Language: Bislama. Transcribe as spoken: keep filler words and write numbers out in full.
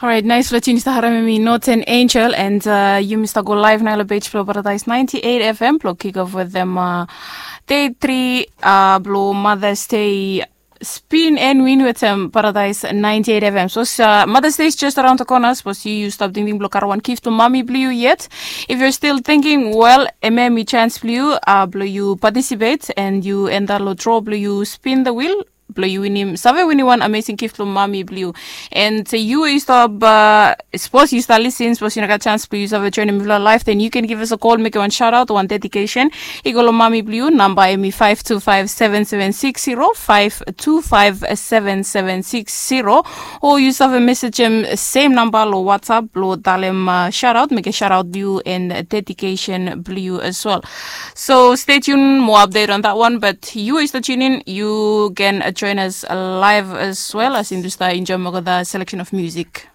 Orait, nais long tinis taharam em i Northern Angel and uh, yumi stap go live nai long page blong Paradise ninety-eight F M blong kick off wetem uh, day three uh, blong Mother's Day spin and win wetem Paradise ninety-eight F M. So uh, Mother's Day is just around the corner. Suppose you you stop thinking blong karawan gift to mommy blue yet. If you're still thinking, well, M M chance blue uh, blong you participate and you enter lo draw blong you spin the wheel. Blong yu winim save winim wan amazing gift long mami blong yu. And yu we yu stap uh, suppose yu stap lisin, suppose yu no gat chance blong yu save joinim mifla live, then you can give us a call, make wan shout out, wan dedication. I go long mami blong yu, namba em i five two five seven seven six zero, five two five seven seven six zero. O yu save message em same namba long WhatsApp blong talem uh, shout out, make a shout out blong yu and dedication blong yu as well. So stay tuned, more update on that one. But you is the tune in, you can uh, join us live as well as in the star enjoy more the selection of music.